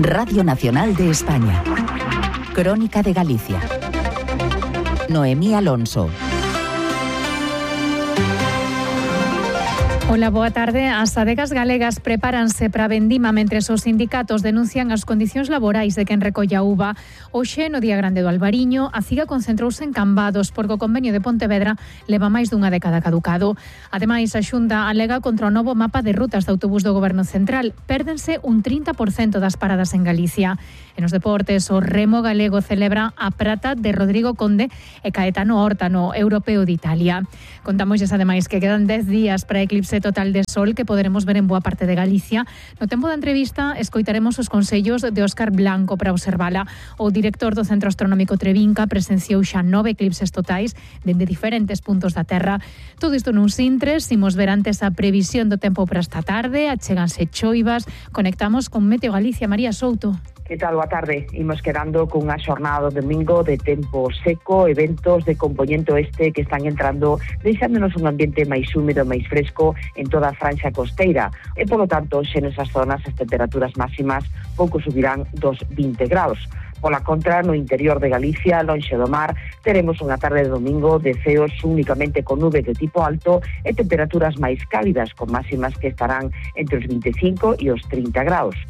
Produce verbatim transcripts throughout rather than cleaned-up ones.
Radio Nacional de España. Crónica de Galicia. Noemí Alonso. Ola, boa tarde. As adegas galegas prepáranse para a vendima mentres os sindicatos denuncian as condicións laborais de quen recolla uva. Hoxe, no Día Grande do Albariño, a CIGA concentrouse en Cambados porque o convenio de Pontevedra leva máis dunha década caducado. Ademais, a Xunta alega contra o novo mapa de rutas de autobús do Goberno Central. Pérdense un trinta por cento das paradas en Galicia. En os deportes, o remo galego celebra a prata de Rodrigo Conde e Caetano Horta no Europeo de Italia. Contamosles ademais que quedan dez días para a eclipse total de sol que poderemos ver en boa parte de Galicia. No tempo da entrevista escoitaremos os consellos de Óscar Blanco para observala. O director do Centro Astronómico Trevinca presenciou xa nove eclipses totais dende diferentes puntos da Terra. Todo isto nuns intres, imos ver antes a previsión do tempo para esta tarde, achéganse choivas. Conectamos con Meteo Galicia. María Souto. Que tal? Boa tarde. Imos quedando cunha xornada do domingo de tempo seco, eventos de compoñente oeste que están entrando, deixándonos un ambiente máis húmedo, máis fresco en toda a franxa costeira. E, polo tanto, xe nesas zonas as temperaturas máximas pouco subirán dos vinte graus. Pola contra, no interior de Galicia, lonxe do mar, teremos unha tarde de domingo de ceos únicamente con nubes de tipo alto e temperaturas máis cálidas, con máximas que estarán entre os vinte e cinco e os trinta graus.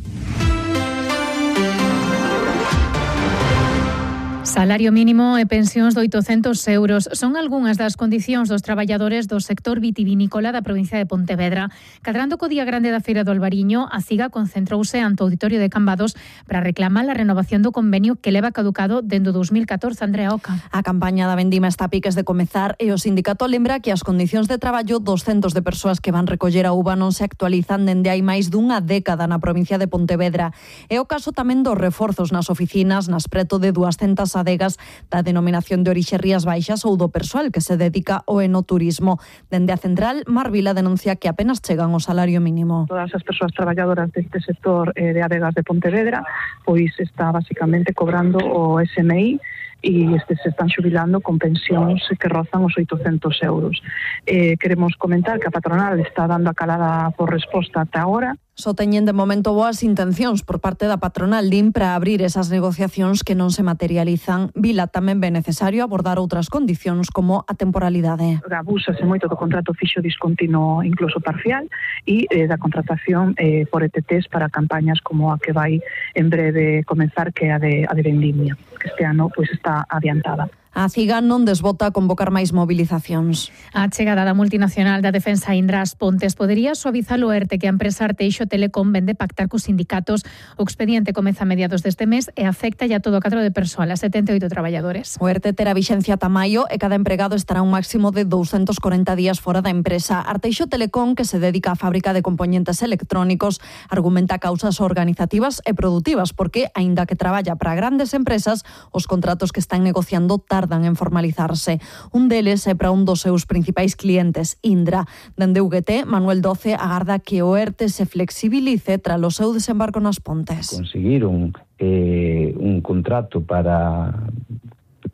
Salario mínimo e pensións de oitocentos euros son algunhas das condicións dos traballadores do sector vitivinícola da provincia de Pontevedra. Cadrando co Día Grande da Feira do Albariño, a CIGA concentrouse ante o auditorio de Cambados para reclamar a renovación do convenio que leva caducado dende o dos mil catorce. Andrea Oca. A campaña da vendima está a piques de comezar e o sindicato lembra que as condicións de traballo dos centos de persoas que van recoller a uva non se actualizan dende hai máis dunha década na provincia de Pontevedra. É o caso tamén dos reforzos nas oficinas, nas preto de duascentas adegas da denominación de orixe Rías Baixas ou do persoal que se dedica ao enoturismo. Dende a central, Mar Vila denuncia que apenas chegan ao salario mínimo. Todas as persoas traballadoras deste sector eh, de adegas de Pontevedra pois está basicamente cobrando o S M I e este se están xubilando con pensións que rozan os oitocentos euros. Eh, queremos comentar que a patronal está dando a calada por resposta ata agora. Só teñen de momento boas intencións por parte da patronal D I M para abrir esas negociacións que non se materializan. Vila tamén ve necesario abordar outras condicións como a temporalidade. Abúsase moito do contrato fixo discontinuo incluso parcial e eh, da contratación eh, por E T Ts para campañas como a que vai en breve comenzar, que é a de, a de vendimia, que este ano pois está adiantada. A CIGA non desbota convocar máis movilizacións. A chegada da multinacional da defensa Indra ás Pontes podería suavizar o ERTE que a empresa Arteixo Telecom vende pactar cos sindicatos. O expediente comeza a mediados deste mes e afecta ya todo o cadro de persoal, a setenta e oito traballadores. O ERTE terá vixencia ata maio e cada empregado estará un máximo de douscentos corenta días fora da empresa. Arteixo Telecom, que se dedica á fábrica de compoñentes electrónicos, argumenta causas organizativas e produtivas porque, aínda que traballa para grandes empresas, os contratos que están negociando tardan en formalizarse. Un deles é para un dos seus principais clientes, Indra. Dende U G T, Manuel Doce agarda que o ERTE se flexibilice tras o seu desembarco nas Pontes. Conseguiron eh, un contrato para,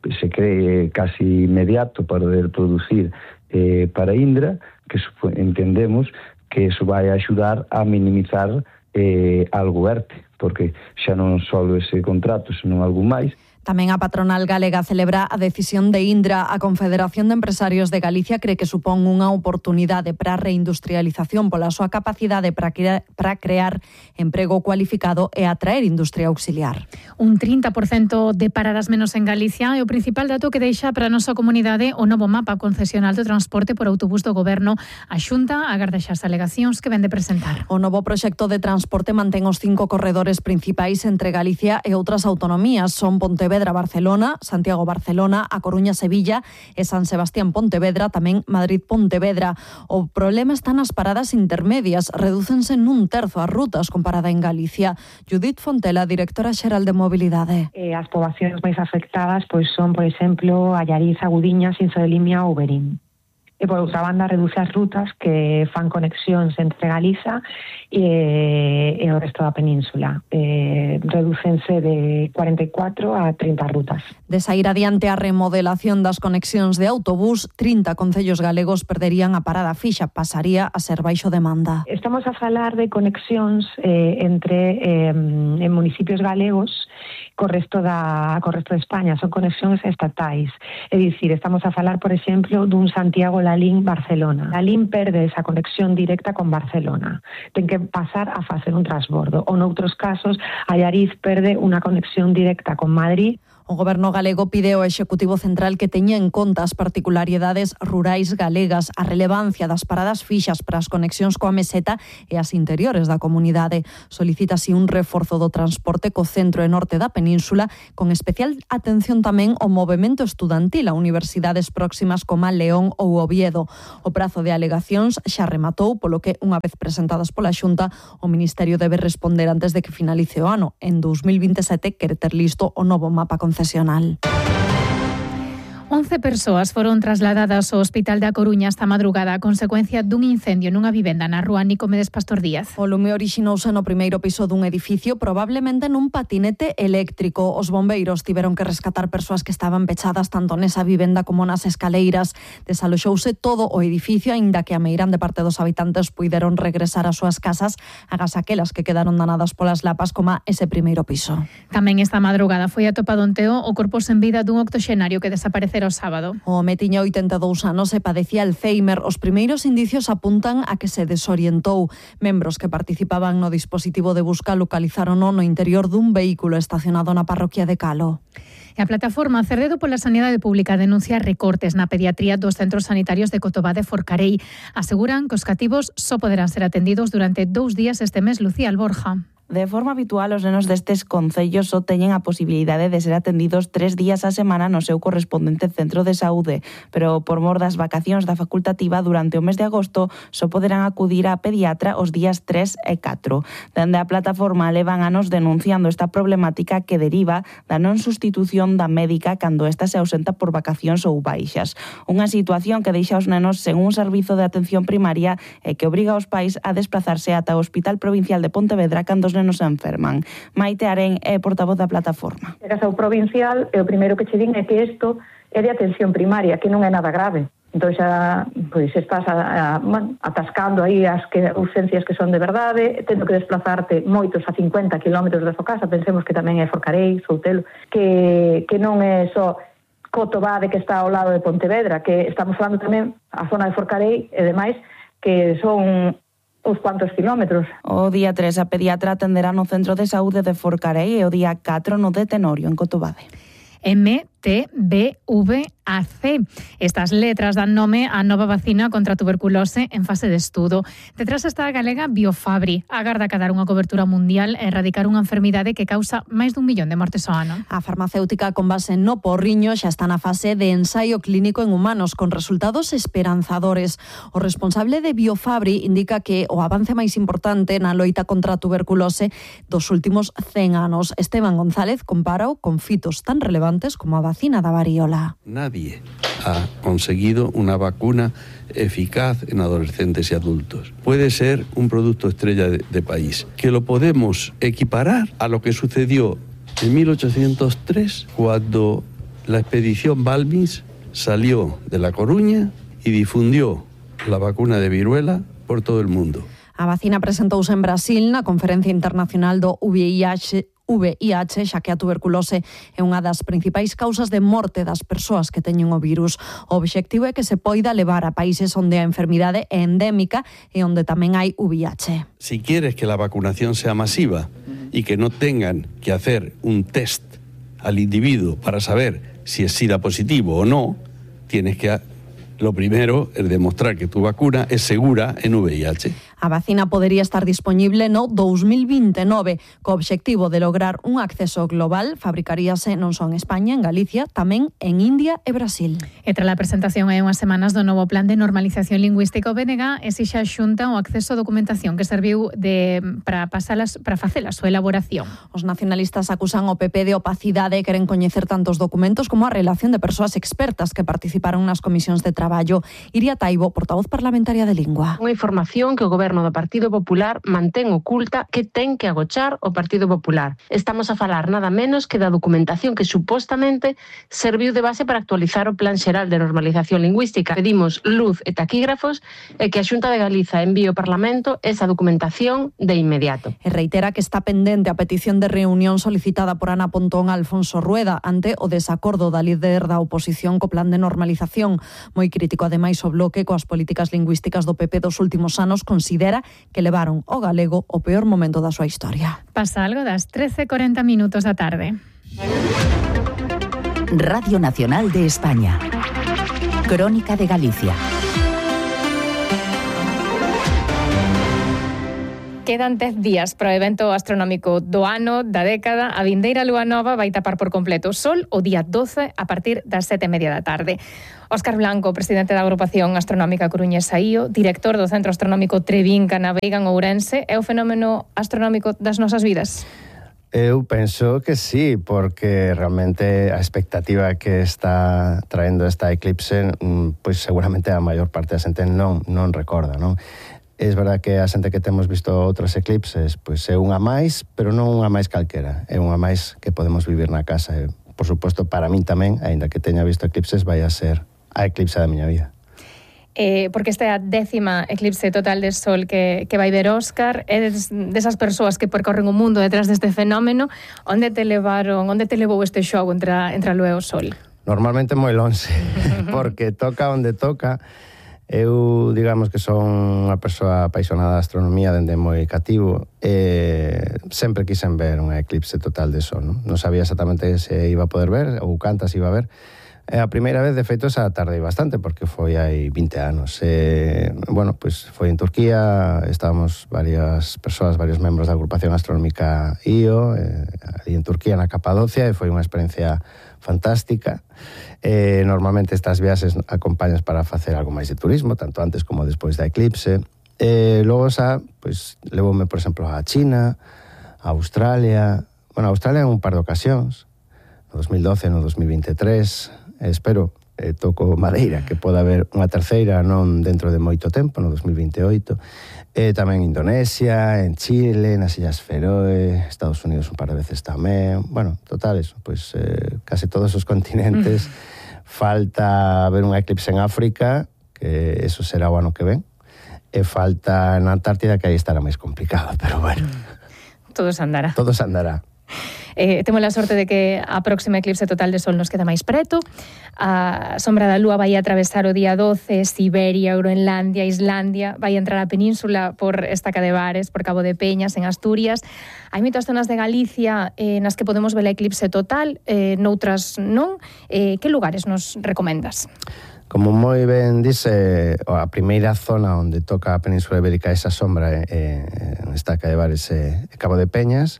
se cree casi inmediato, para poder producir eh, para Indra, que entendemos que eso vai axudar a minimizar eh, algo ERTE, porque xa non só ese contrato, senón algo máis. Tamén a patronal galega celebra a decisión de Indra. A Confederación de Empresarios de Galicia cree que supón unha oportunidade para a reindustrialización pola súa capacidade para crear, para crear emprego cualificado e atraer industria auxiliar. Un trinta por cento de paradas menos en Galicia é o principal dato que deixa para a nosa comunidade o novo mapa concesional do transporte por autobús do Goberno. A Xunta agarda xa as alegacións que ven de presentar. O novo proxecto de transporte mantén os cinco corredores principais entre Galicia e outras autonomías. Son Pontevedra-Barcelona, Santiago-Barcelona, A Coruña-Sevilla e San Sebastián-Pontevedra, tamén Madrid-Pontevedra. O problema está nas paradas intermedias. Redúcense nun terzo as rutas comparada en Galicia. Judith Fontela, directora xeral de Mobilidade. Eh, as poboacións máis afectadas pois son, por exemplo, Allariz, Agudiñas, Inso de Limia ou Berín. e por outra banda reduce as rutas que fan conexións entre Galiza e, e o resto da península. Eh, redúcense de cuarenta e catro a trinta rutas. De sair adiante a remodelación das conexións de autobús, trinta concellos galegos perderían a parada fixa, pasaría a ser baixo demanda. Estamos a falar de conexións eh, entre eh, en municipios galegos co resto da co resto de España, son conexións estatais. É dicir, estamos a falar, por exemplo, dun Santiago Lalín Barcelona. Lalín perde esa conexión directa con Barcelona. Ten que pasar a facer un transbordo. Ou noutros casos, Allariz perde unha conexión directa con Madrid. O Goberno galego pide ao Executivo Central que teña en conta as particularidades rurais galegas, a relevancia das paradas fixas para as conexións coa meseta e as interiores da comunidade. Solicita así un reforzo do transporte co centro e norte da península, con especial atención tamén ao movemento estudantil a universidades próximas como León ou Oviedo. O prazo de alegacións xa rematou, polo que, unha vez presentadas pola Xunta, o Ministerio debe responder antes de que finalice o ano. En dos mil vinte e sete quere ter listo o novo mapa concesional. once persoas foron trasladadas ao Hospital da Coruña esta madrugada a consecuencia dun incendio nunha vivenda na rúa Nicomedes Pastor Díaz. O lume orixinouse no primeiro piso dun edificio, probablemente nun patinete eléctrico. Os bombeiros tiveron que rescatar persoas que estaban pechadas tanto nesa vivenda como nas escaleiras. Desaloxouse todo o edificio, aínda que a meirande parte dos habitantes puideron regresar ás súas casas, agás aquelas que quedaron danadas polas lapas, como ese primeiro piso. Tamén esta madrugada foi atopado en Teo o corpo sen vida dun octoxenario que desaparecera o sábado. O home tiña oitenta e dous anos e padecía Alzheimer. Os primeiros indicios apuntan a que se desorientou. Membros que participaban no dispositivo de busca localizárono no interior dun vehículo estacionado na parroquia de Calo. E a plataforma Cerdedo pola Sanidade Pública denuncia recortes na pediatría dos centros sanitarios de Cotobá de Forcarei. Aseguran que os cativos só poderán ser atendidos durante dous días este mes. Lucía Alborja. De forma habitual, os nenos destes concellos só teñen a posibilidade de ser atendidos tres días á semana no seu correspondente centro de saúde, pero por mor das vacacións da facultativa durante o mes de agosto só poderán acudir á pediatra os días tres e catro. Dende a plataforma levan anos denunciando esta problemática que deriva da non sustitución da médica cando esta se ausenta por vacacións ou baixas. Unha situación que deixa os nenos sen un servizo de atención primaria e que obriga aos pais a desplazarse ata o Hospital Provincial de Pontevedra cando os nenos se enferman. Maite Arén é portavoz da plataforma. Chegas ao provincial e o primeiro que che din é que isto é de atención primaria, que non é nada grave. Entón xa pois, estás a, a, bueno, atascando aí as que, urgencias que son de verdade, tendo que desplazarte moitos a cincuenta kilómetros da súa casa, pensemos que tamén é Forcarei, Soutelo, que, que non é só Cotobá, de que está ao lado de Pontevedra, que estamos falando tamén a zona de Forcarei e demais, que son uns cuantos kilómetros. O día tres a pediatra atenderá no Centro de Saúde de Forcarei e o día catro no de Tenorio, en Cotobade. M T B V A C. Estas letras dan nome á nova vacina contra a tuberculose en fase de estudo. Detrás está a galega Biofabri. Agarda a dar unha cobertura mundial e erradicar unha enfermidade que causa máis dun millón de mortes ao ano. A farmacéutica con base no porriño xa está na fase de ensaio clínico en humanos con resultados esperanzadores. O responsable de Biofabri indica que o avance máis importante na loita contra a tuberculose dos últimos cen anos. Esteban González compara con fitos tan relevantes como a vacina da variola. Nadie ha conseguido una vacuna eficaz en adolescentes y adultos. Puede ser un producto estrella de, de país, que lo podemos equiparar a lo que sucedió en mil ochocientos tres, cuando la expedición Balbins salió de La Coruña y difundió la vacuna de viruela por todo el mundo. A vacina presentouse en Brasil na Conferencia Internacional do V I H, V I H, xa que a tuberculose é unha das principais causas de morte das persoas que teñen o virus. O obxectivo é que se poida levar a países onde a enfermidade é endémica e onde tamén hai V I H. Si quieres que la vacunación sea masiva y que no tengan que hacer un test al individuo para saber si es SIDA positivo o no, tienes que... Lo primero es demostrar que tu vacuna es segura en V I H. A vacina podería estar disponible no dous mil vinte e nove, co obxectivo de lograr un acceso global. Fabricaríase non só en España, en Galicia, tamén en India e Brasil. E tras a presentación hai unhas semanas do novo plan de normalización lingüística, o B N G exixe a Xunta o acceso a documentación que serviu de para pasalas para facer a súa elaboración. Os nacionalistas acusan o P P de opacidade e queren coñecer tantos documentos como a relación de persoas expertas que participaron nas comisións de traballo. Iria Taibo, portavoz parlamentaria de Lingua. Unha información que o goberno do Partido Popular mantén oculta que ten que agochar o Partido Popular. Estamos a falar nada menos que da documentación que supostamente serviu de base para actualizar o Plan Xeral de Normalización Lingüística. Pedimos luz e taquígrafos e que a Xunta de Galiza envíe ao Parlamento esa documentación de inmediato. E reitera que está pendente a petición de reunión solicitada por Ana Pontón a Alfonso Rueda ante o desacordo da líder da oposición co plan de normalización. Moi crítico ademais o bloque coas políticas lingüísticas do P P dos últimos anos, considera que levaron o galego o peor momento da súa historia. Pasa algo das trece e corenta minutos da tarde. Radio Nacional de España. Crónica de Galicia. Quedan dez días para o evento astronómico do ano, da década. A vindeira lúa nova vai tapar por completo o sol o día doce a partir das sete e media da tarde. Óscar Blanco, presidente da Agrupación Astronómica Coruñesa I O, director do Centro Astronómico Trevinca na Veiga en Ourense, é o fenómeno astronómico das nosas vidas? Eu penso que sí, porque realmente a expectativa que está traendo esta eclipse, pois seguramente a maior parte da xente non, non recorda, non? É verdad que a xente que temos visto outras eclipses, pois é unha máis, pero non unha máis calquera, é unha máis que podemos vivir na casa. E, por suposto, para min tamén, aínda que teña visto eclipses, vai a ser a eclipse da miña vida. Eh, porque esta é a décima eclipse total de sol que, que vai ver Óscar. É desas persoas que percorren o mundo detrás deste fenómeno. Onde te levaron, onde te levou este xogo entre a, entre a lúa e o sol? Normalmente moi lonxe, porque toca onde toca. Eu, digamos que son unha persoa apaixonada da astronomía dende moi cativo e sempre quixen ver unha eclipse total de sol, non? Non sabía exactamente se iba a poder ver ou cantas iba a ver. E a primeira vez, de feito, esa tardei bastante porque foi hai vinte anos. E, bueno, pois foi en Turquía, estábamos varias persoas, varios membros da Agrupación Astronómica I O, eh, ali en Turquía, na Capadocia, e foi unha experiencia fantástica. Eh, normalmente estas viaxes acompañas para facer algo máis de turismo, tanto antes como despois da eclipse. Eh, logo xa, pois, levoume, por exemplo, a China, a Australia. Bueno, a Australia en un par de ocasións, no dos mil doce, no dos mil vinte e tres. Eh, espero, eh, toco madeira, que poda haber unha terceira non dentro de moito tempo, no dos mil vinte e oito. Eh, tamén en Indonesia, en Chile, nas Illas Feroe, Estados Unidos un par de veces tamén. Bueno, total eso, pois eh, case todos os continentes. Mm. Falta ver unha eclipse en África, que eso será o ano que ven. E falta na Antártida, que aí estará máis complicado, pero bueno. Todo se andará. Todo se andará. Eh, temos a sorte de que a próxima eclipse total de sol nos queda máis preto. A sombra da lúa vai atravesar o día doce, Siberia, Groenlandia, Islandia, vai entrar a península por Estaca de Bares, por Cabo de Peñas, en Asturias. Hai moitas zonas de Galicia eh, nas que podemos ver a eclipse total, eh, noutras non. Eh, que lugares nos recomendas? Como moi ben dice, a primeira zona onde toca a Península Ibérica esa sombra é en Estaca de Bares e Cabo de Peñas,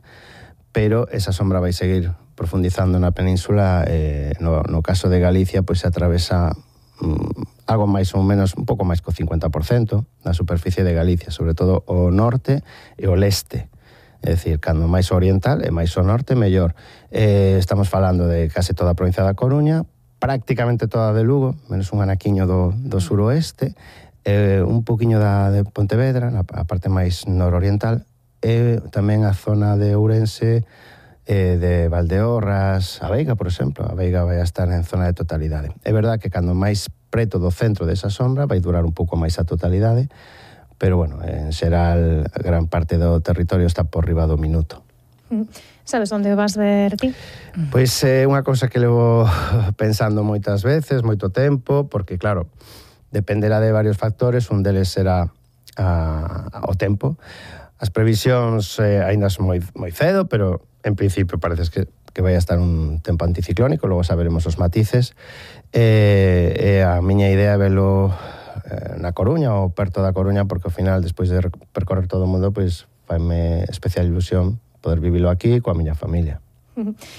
pero esa sombra vai seguir profundizando na península. Eh, no, no caso de Galicia, pois se atravesa mm, algo máis ou menos, un pouco máis co cincuenta por cento da superficie de Galicia, sobre todo o norte e o leste. É dicir, cando máis oriental e máis o norte, mellor. Eh, estamos falando de case toda a provincia da Coruña, prácticamente toda de Lugo, menos un anaquiño do, do suroeste, eh, un poquinho da de Pontevedra, na a parte máis nororiental, e tamén a zona de Ourense, eh, de Valdeorras, a Veiga, por exemplo. A Veiga vai a estar en zona de totalidade. É verdad que cando máis preto do centro desa sombra vai durar un pouco máis a totalidade, pero, bueno, en xeral, gran parte do territorio está por riba do minuto. Sabes onde vas ver ti? Pois é eh, unha cousa que levo pensando moitas veces, moito tempo, porque, claro, dependerá de varios factores. Un deles será a, o tempo. As previsións eh, aínda son moi, moi cedo, pero en principio parece que, que vai a estar un tempo anticiclónico, logo saberemos os matices. E, e a miña idea é velo eh, na Coruña ou perto da Coruña, porque ao final, despois de percorrer todo o mundo, pois faime especial ilusión poder vivilo aquí coa miña familia.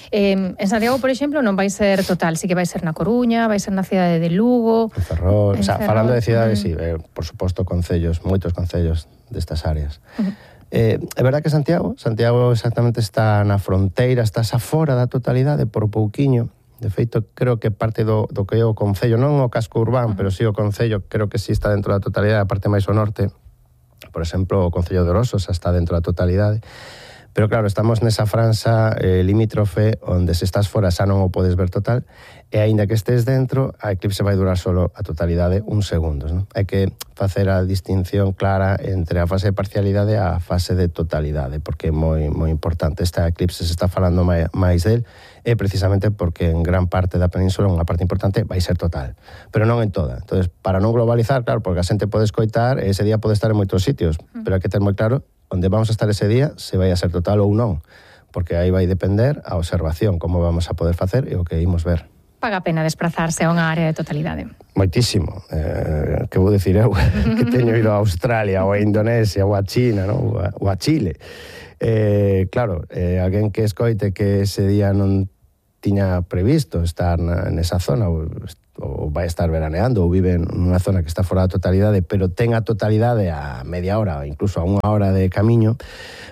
Eh, en Santiago, por exemplo, non vai ser total, sí que vai ser na Coruña, vai ser na cidade de Lugo, en Ferrol, en o sea, Ferrol. Falando de cidades, uh-huh. sí, eh, por suposto concellos, moitos concellos destas áreas. Uh-huh. Eh, é verdad que Santiago, Santiago exactamente está na fronteira, está xa fora da totalidade por pouquiño. De feito, creo que parte do, do que é o concello, non o casco urbano, uh-huh. pero sí o concello, creo que sí está dentro da totalidade, a parte máis ao norte. Por exemplo, o concello de Orosos está dentro da totalidade. Pero claro, estamos nesa franxa eh, limítrofe onde se estás fora xa non o podes ver total, e aínda que estés dentro, a eclipse vai durar solo a totalidade uns segundos. Non? Hai que facer a distinción clara entre a fase de parcialidade e a fase de totalidade, porque é moi, moi importante. Esta eclipse se está falando máis del, é precisamente porque en gran parte da península unha parte importante vai ser total, pero non en toda. Entonces, para non globalizar, claro, porque a xente pode escoitar, ese día pode estar en moitos sitios, pero hai que ter moi claro onde vamos a estar ese día, se vai a ser total ou non, porque aí vai depender a observación, como vamos a poder facer e o que imos ver. Paga a pena desplazarse a unha área de totalidade? Moitísimo. Eh, que vou dicir eu, que teño ido a Australia, ou a Indonesia, ou a China, ¿no? ou, a, ou a Chile. Eh, claro, eh, alguén que escoite que ese día non tiña previsto estar na, nesa zona, ou, ou vai estar veraneando, ou vive nunha zona que está fora da totalidade, pero ten a totalidade a media hora, ou incluso a unha hora de camiño,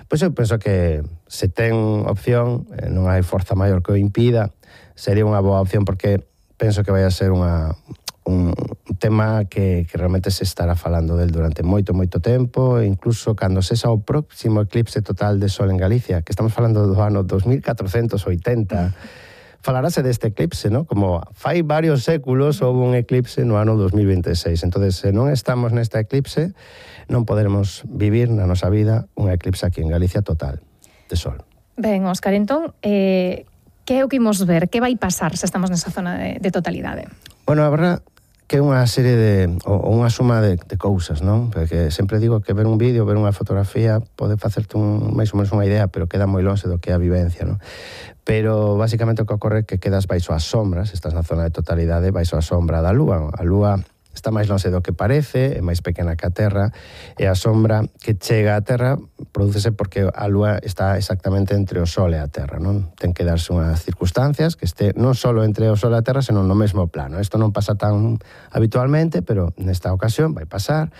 pois eu penso que se ten opción, eh, non hai forza maior que o impida, sería unha boa opción, porque penso que vai a ser unha, un tema que, que realmente se estará falando del durante moito, moito tempo, e incluso cando sexa o próximo eclipse total de sol en Galicia, que estamos falando do ano dos mil catrocentos oitenta, falarase deste eclipse, ¿no? Como fai varios séculos houve un eclipse no ano dos mil veintiséis. Entonces, se non estamos nesta eclipse, non poderemos vivir na nosa vida un eclipse aquí en Galicia total de sol. Ben, Óscar, entón, eh, que é o que imos ver? Que vai pasar se estamos nesa zona de, de totalidade? Bueno, a verdad que é unha serie de, ou unha suma de, de cousas, non? Porque sempre digo que ver un vídeo, ver unha fotografía pode facerte un, máis ou menos unha idea, pero queda moi longe do que é a vivencia, non? Pero basicamente o que ocorre é que quedas baixo as sombras, estás na zona de totalidade, baixo a sombra da lúa. A lúa está máis longe do que parece, é máis pequena que a Terra, e a sombra que chega á Terra prodúcese porque a lúa está exactamente entre o Sol e a Terra, non? Ten que darse unhas circunstancias que este non só entre o Sol e a Terra, senón no mesmo plano. Isto non pasa tan habitualmente, pero nesta ocasión vai pasar.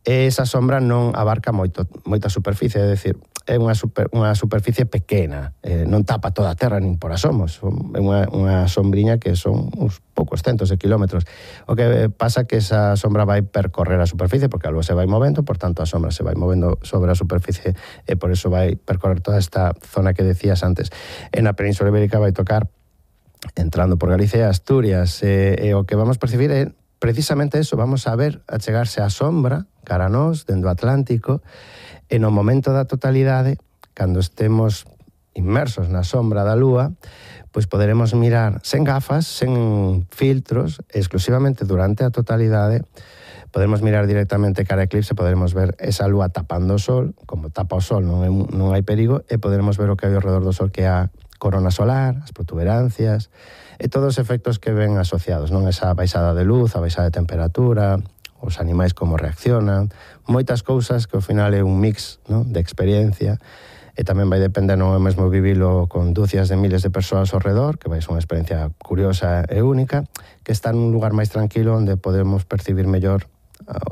E esa sombra non abarca moito, moita superficie, é dicir, é unha, super, unha superficie pequena, eh, non tapa toda a Terra nin por asomos, é unha, unha sombriña que son uns poucos centos de kilómetros. O que pasa que esa sombra vai percorrer a superficie, porque a lúa se vai movendo, por tanto a sombra se vai movendo sobre a superficie e por eso vai percorrer toda esta zona que decías antes. En a Península Ibérica vai tocar entrando por Galicia e Asturias, e, e o que vamos percibir é precisamente eso, vamos a ver a chegarse a sombra cara a nós, dentro do Atlántico, e no momento da totalidade, cando estemos inmersos na sombra da lúa, pois poderemos mirar sen gafas, sen filtros, exclusivamente durante a totalidade, podemos mirar directamente cara a eclipse, poderemos ver esa lúa tapando o sol, como tapa o sol non, é, non hai perigo, e poderemos ver o que hai ao redor do sol, que é a corona solar, as protuberancias, e todos os efectos que ven asociados, non? Esa baixada de luz, a baixada de temperatura, os animais como reaccionan, moitas cousas que ao final é un mix, non? De experiencia, e tamén vai depender, non é mesmo vivilo con dúcias de miles de persoas ao redor, que vai ser unha experiencia curiosa e única, que está nun lugar máis tranquilo onde podemos percibir mellor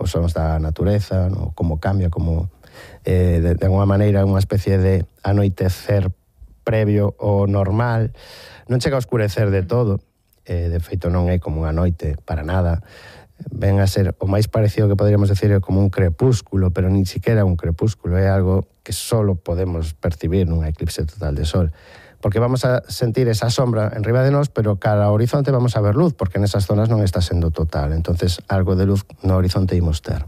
os sons da natureza, no? Como cambia, como eh, de, de alguma maneira unha especie de anoitecer previo ao normal, non chega a oscurecer de todo, eh, de feito non é como unha noite para nada, ven a ser o máis parecido que poderíamos decir é como un crepúsculo, pero nin siquiera un crepúsculo, é algo que solo podemos percibir nunha eclipse total de sol, porque vamos a sentir esa sombra en riba de nós, pero cara ao horizonte vamos a ver luz, porque nesas zonas non está sendo total, entonces algo de luz no horizonte imos ter.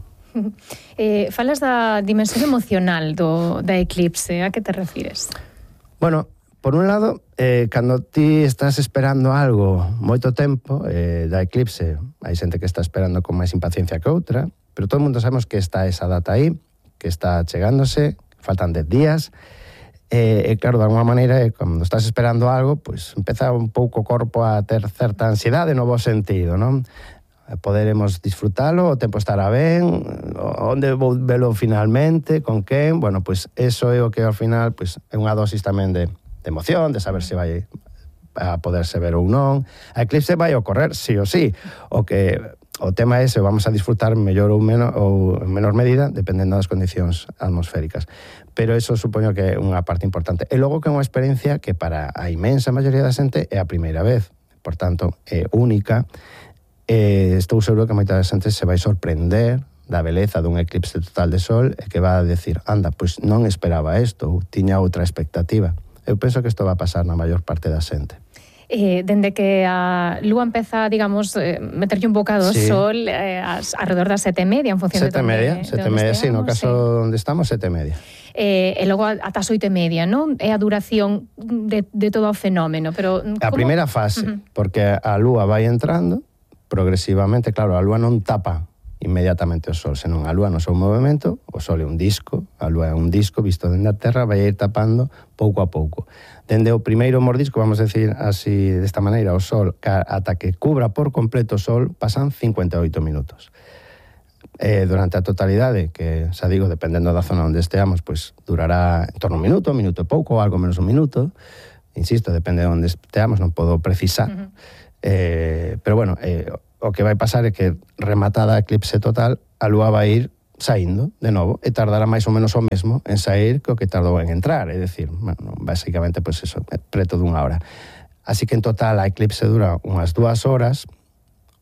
Eh, falas da dimensión emocional do, da eclipse, a que te refires? Bueno, por un lado, eh, cando ti estás esperando algo moito tempo, eh, da eclipse, hai xente que está esperando con máis impaciencia que outra, pero todo o mundo sabemos que está esa data aí, que está chegándose, faltan dez días, e, e claro, de alguma maneira, cando estás esperando algo, pois empeza un pouco o corpo a ter certa ansiedade no bo sentido, non? poderemos disfrutalo, o tempo estará ben, onde vou velo finalmente, con quen, bueno, pois eso é o que ao final pois, é unha dosis tamén de, de emoción, de saber se vai a poderse ver ou non. A eclipse vai ocorrer, sí ou sí, o que o tema é se vamos a disfrutar mellor ou, menos, ou en menor medida, dependendo das condicións atmosféricas. Pero eso supoño que é unha parte importante. E logo que é unha experiencia que para a inmensa maioría da xente é a primeira vez, por tanto, é única. Eh, estou seguro que moita xente se vai sorprender da beleza dun eclipse total de sol e que va a decir, anda, pois non esperaba isto, ou tiña outra expectativa. Eu penso que isto va a pasar na maior parte da xente. Eh, dende que a lúa empeza, digamos, eh, meterlle un bocado ao sí. sol eh, as, alrededor das sete e media, en función sete de, media, de, sete de media, sí, no caso sí. onde estamos, sete e media. Eh, e logo ata as oito e media, non? É a duración de, de todo o fenómeno, pero... A como... primeira fase, uh-huh. porque a lúa vai entrando progresivamente, claro, a lúa non tapa inmediatamente o sol, senón a lúa no seu movimento, o sol é un disco, a lúa é un disco visto dende a terra, vai ir tapando pouco a pouco. Dende o primeiro mordisco, vamos a decir así, desta maneira, o sol, ata que cubra por completo o sol, pasan cincuenta e oito minutos. Eh, durante a totalidade, que, xa digo, dependendo da zona onde esteamos, pois durará en torno a un minuto, un minuto e pouco, algo menos un minuto. Insisto, depende de onde esteamos, non podo precisar. Uh-huh. Eh, pero bueno, eh, o que vai pasar é que rematada a eclipse total, a lúa vai ir saindo de novo e tardará máis ou menos o mesmo en sair que o que tardou en entrar, é dicir, bueno, basicamente, pois pues eso, preto dunha hora. Así que en total a eclipse dura unhas dúas horas,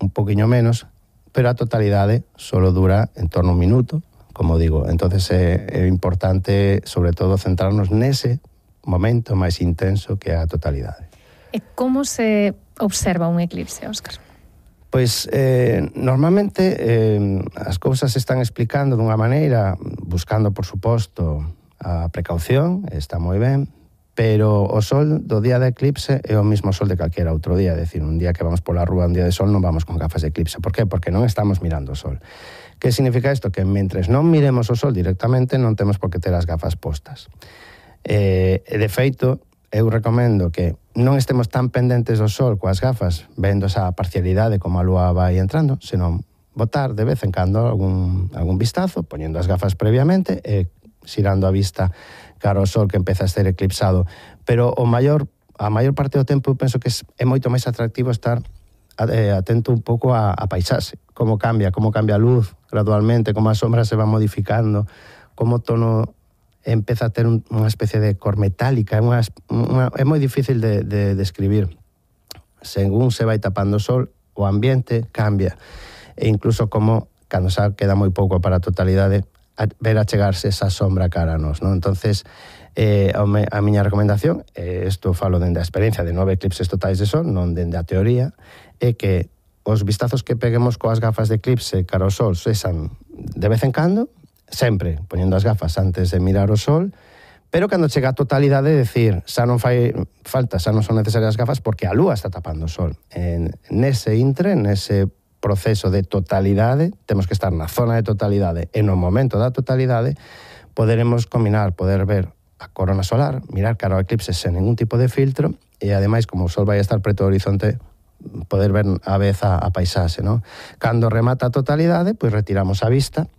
un poquinho menos, pero a totalidade solo dura en torno a un minuto, como digo. Entonces é, é importante, sobre todo, centrarnos nese momento máis intenso que a totalidade. E como se observa un eclipse, Óscar? Pois eh, normalmente eh, as cousas se están explicando dunha maneira, buscando, por suposto, a precaución, está moi ben, pero o sol do día de eclipse é o mismo sol de calquera outro día, é dicir, un día que vamos pola rúa, un día de sol, non vamos con gafas de eclipse. Por qué? Porque non estamos mirando o sol. Que significa isto? Que mentres non miremos o sol directamente, non temos por que ter as gafas postas. Eh, de feito, eu recomendo que non estemos tan pendentes do sol coas gafas, vendo esa parcialidade como a lúa vai entrando, senón botar de vez en cando algún, algún vistazo, poñendo as gafas previamente e xirando a vista cara ao sol que empeza a ser eclipsado. Pero o maior, a maior parte do tempo eu penso que é moito máis atractivo estar eh, atento un pouco a, a paisaxe, como cambia, como cambia a luz gradualmente, como a sombra se va modificando, como o tono empeza a ter un, unha especie de cor metálica, é, unha, unha, é moi difícil de, de describir. Según se vai tapando o sol, o ambiente cambia. E incluso como, cando xa queda moi pouco para a totalidade, a ver achegarse esa sombra cara a nos, non? Entonces, eh, a, me, a miña recomendación, eh, isto falo dende a experiencia de nove eclipses totais de sol, non dende a teoría, é que os vistazos que peguemos coas gafas de eclipse cara ao sol sexan de vez en cando, sempre poñendo as gafas antes de mirar o sol, pero cando chega a totalidade, decir, xa non fai falta, xa non son necesarias as gafas porque a lúa está tapando o sol. En nese intre, nese proceso de totalidade, temos que estar na zona de totalidade e no momento da totalidade poderemos combinar, poder ver a corona solar, mirar cara ao eclipse sen ningún tipo de filtro e ademais, como o sol vai estar preto do horizonte, poder ver a vez a, a paisaxe, non? Cando remata a totalidade, pois retiramos a vista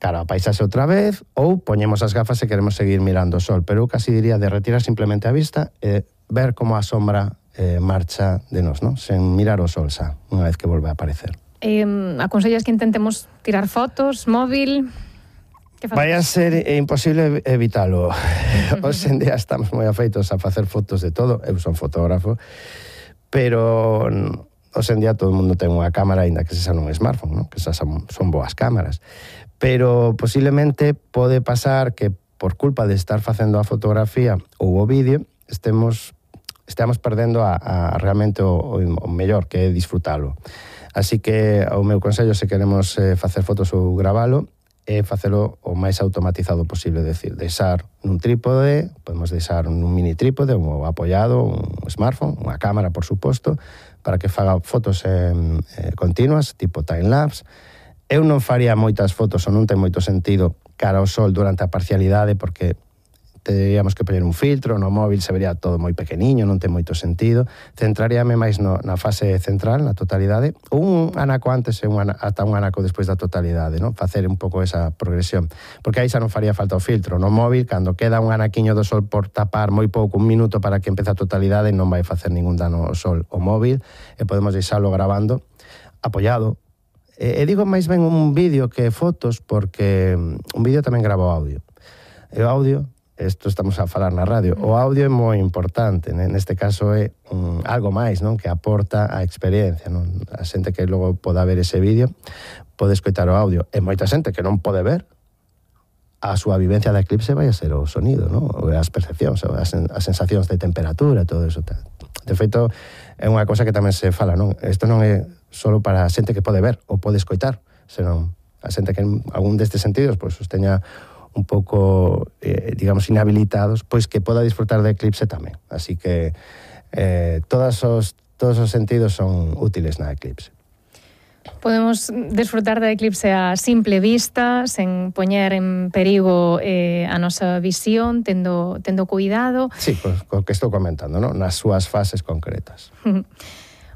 cara a paisaxe outra vez, ou poñemos as gafas e queremos seguir mirando o sol. Pero eu casi diría de retirar simplemente a vista e ver como a sombra eh, marcha de nos, non? Sen mirar o sol xa, unha vez que volve a aparecer. Eh, aconsellas que intentemos tirar fotos, móvil... Vai a ser imposible evitalo. Hoxe en día estamos moi afeitos a facer fotos de todo. Eu son fotógrafo, pero hoxe en día todo o mundo ten unha cámara, ainda que se xa non un smartphone, non? Que xa son, son boas cámaras. Pero posiblemente pode pasar que por culpa de estar facendo a fotografía ou o vídeo estemos, estamos perdendo a, a realmente o, o mellor, que é disfrutalo. Así que o meu consello, se queremos eh, facer fotos ou gravalo, é facelo o máis automatizado posible, decir, deixar nun trípode, podemos deixar nun mini trípode, ou apoiado, un smartphone, unha cámara, por suposto, para que faga fotos eh, eh, continuas, tipo time-lapse. Eu non faría moitas fotos, ou non ten moito sentido cara ao sol durante a parcialidade, porque teríamos que poñer un filtro, no móvil se vería todo moi pequeniño, non ten moito sentido. Centraríame máis no, na fase central, na totalidade, un anaco antes e un ana, ata un anaco despois da totalidade, non? Facer un pouco esa progresión. Porque aí xa non faría falta o filtro. No móvil, cando queda un anaquiño do sol por tapar moi pouco, un minuto para que empece a totalidade, non vai facer ningún dano ao sol o móvil, e podemos deixalo grabando apoiado. E, e digo máis ben un vídeo que fotos, porque un vídeo tamén grava o audio. E o audio, isto estamos a falar na radio, o audio é moi importante, neste caso é um, algo máis, non, que aporta a experiencia, non? A xente que logo poda ver ese vídeo pode escoitar o audio, e moita xente que non pode ver, a súa vivencia da eclipse vai a ser o sonido, non? As percepcións, as, as sensacións de temperatura, todo eso. De feito, é unha cosa que tamén se fala, non? Isto non é só para a xente que pode ver ou pode escoitar, senón a xente que en algún destes sentidos pois, os teña un pouco, eh, digamos, inhabilitados, pois que poda disfrutar de eclipse tamén. Así que eh, todos, os, todos os sentidos son útiles na eclipse. Podemos desfrutar da eclipse a simple vista, sen poñer en perigo eh, a nosa visión, tendo, tendo cuidado. Sí, pois, co que estou comentando, ¿no? Nas súas fases concretas.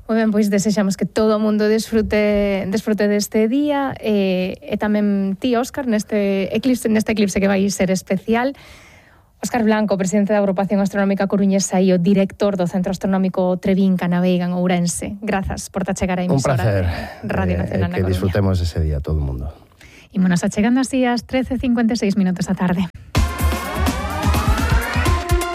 Moi ben, pois desexamos que todo o mundo desfrute desfrute deste día e, e tamén ti, Óscar, neste eclipse, neste eclipse que vai ser especial. Óscar Blanco, presidente da Agrupación Astronómica Coruñesa e o director do Centro Astronómico Trevín Canaveiga en Ourense. Grazas por ta chegar a emisora. Un placer. Radio Nacional eh, que disfrutemos ese día todo o mundo. Ímonos achegando así ás trece e cincuenta e seis minutos da tarde.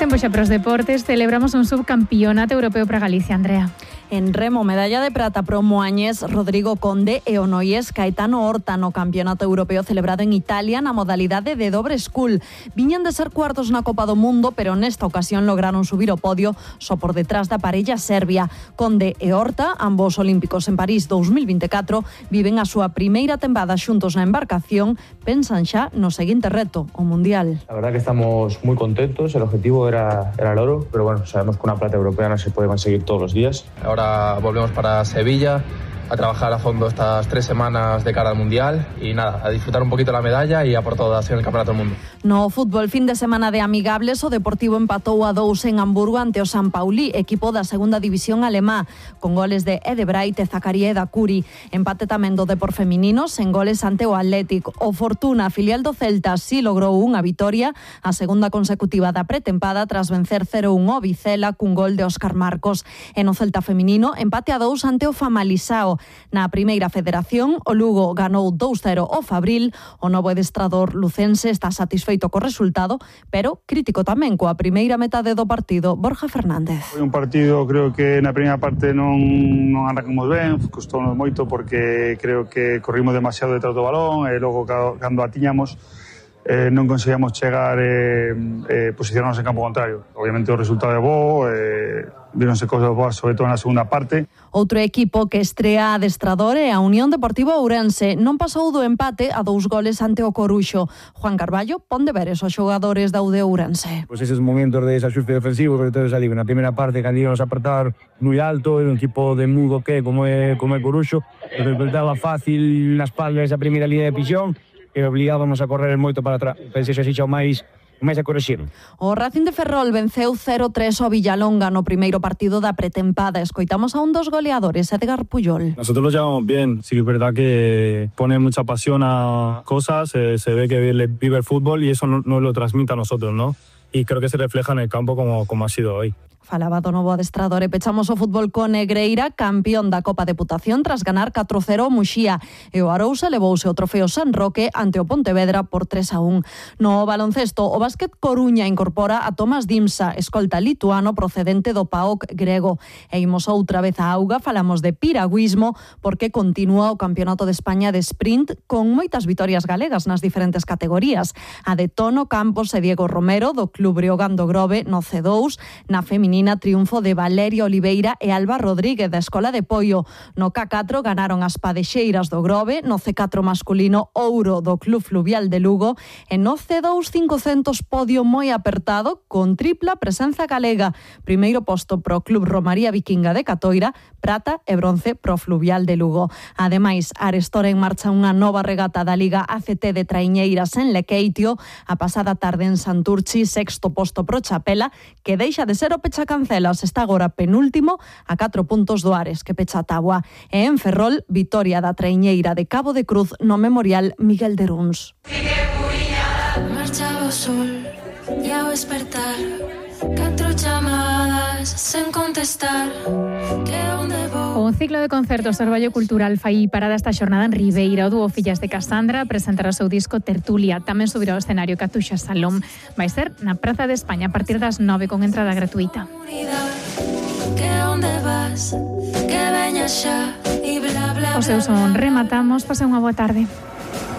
Tempo xa para os deportes, celebramos un subcampeonato europeo para Galicia, Andrea. En remo, medalla de prata pro moañés Rodrigo Conde e o noiés Caetano Horta no Campeonato Europeo celebrado en Italia na modalidade de dobre school. Viñan de ser cuartos na Copa do Mundo, pero nesta ocasión lograron subir o podio só por detrás da parella serbia. Conde e Horta, ambos olímpicos en París dous mil vinte e catro, viven a súa primeira tempada xuntos na embarcación, pensan xa no seguinte reto, o Mundial. La verdad que estamos muy contentos, el objetivo era, era el oro, pero bueno, sabemos que una plata europea no se puede conseguir todos los días. Ahora volvemos para Sevilla a trabajar a fondo estas tres semanas de cara al Mundial y nada, a disfrutar un poquito la medalla y a por todas en el Campeonato del Mundo. No fútbol, fin de semana de amigables, o Deportivo empatou a dous en Hamburgo ante o San Pauli, equipo da segunda división alemá, con goles de Edebright e Zacaría e Dacuri. Empate tamén do Depor feminino, sen goles ante o Athletic. O Fortuna, filial do Celta, si logrou unha vitoria, a segunda consecutiva da pretempada, tras vencer cero un o Vicela cun gol de Óscar Marcos. E no Celta feminino, empate a dous ante o Famalisao. Na primeira federación, o Lugo ganou dous cero o Fabril. O novo adestrador lucense está satisfeito co resultado, pero crítico tamén coa primeira metade do partido. Borja Fernández. Foi un partido, creo que na primeira parte non, non arrancamos ben, costounos moito porque creo que corrimos demasiado detrás do balón e logo cando a tiñamos eh, non conseguíamos chegar e eh, eh, posicionarnos en campo contrario. Obviamente o resultado é bo, eh, vironse cosas boas, sobre todo na segunda parte. Outro equipo que estrea adestrador é a Unión Deportiva Ourense. Non pasou do empate a dous goles ante o Coruxo. Juan Carballo pon deberes aos xogadores da U D Ourense. Pues eses momentos de desaxuste defensivo, sobre todo salir na primeira parte, cando íbamos a apertar moi alto, un equipo de mudo que como é como é Coruxo, que resultaba fácil na espalda esa primeira línea de pixón, e obligábamos a correr moito para atrás. Pensei xa xa máis máis a correxir. O Racing de Ferrol venceu cero tres ao Villalonga no primeiro partido da pretempada. Escoitamos a un dos goleadores, Edgar Puyol. Nosotros lo llevamos bien. Sí que es verdad que pone mucha pasión a cosas, eh, se ve que vive el fútbol y eso nos no lo transmite a nosotros, ¿no? Y creo que se refleja en el campo como, como ha sido hoy. Falaba do novo adestrador e pechamos o fútbol con Negreira, campeón da Copa Deputación tras ganar catro cero o Muxía, e o Arousa levouse o trofeo San Roque ante o Pontevedra por tres a un. No baloncesto, o Básquet Coruña incorpora a Tomás Dimsa, escolta lituano procedente do P A O C grego. E imos outra vez a auga, falamos de piragüismo porque continúa o Campeonato de España de Sprint con moitas vitorias galegas nas diferentes categorías. A de Tono Campos e Diego Romero do Club Breogán do Grove no C dous, na feminina feminina, triunfo de Valeria Oliveira e Alba Rodríguez da Escola de Poio. No K catro ganaron as padexeiras do Grove, no C catro masculino ouro do Club Fluvial de Lugo e no C dous cincocentos podio moi apertado con tripla presenza galega. Primeiro posto pro Club Romaría Vikinga de Catoira, prata e bronce pro Fluvial de Lugo. Ademais, arestora en marcha unha nova regata da Liga A C T de traiñeiras en Lequeitio, a pasada tarde en Santurchi, sexto posto pro Chapela, que deixa de ser o pechacancelas, está agora penúltimo a catro puntos do Ares, que pecha a táboa. E en Ferrol, vitoria da traiñeira de Cabo de Cruz no Memorial Miguel de Runs. Marchaba o sol e ao despertar catro chamadas sen contestar. Que onde vou? O ciclo de concertos do Orballo Cultural fai parada esta xornada en Ribeira. O dúo Fillas de Casandra presentará o seu disco Tertulia. Tamén subirá ao escenario Catuxa Salom. Vai ser na Praza de España a partir das nove con entrada gratuita. Que onde vas? Que veña xa e bla bla bla. O seu son rematamos. Pase unha boa tarde.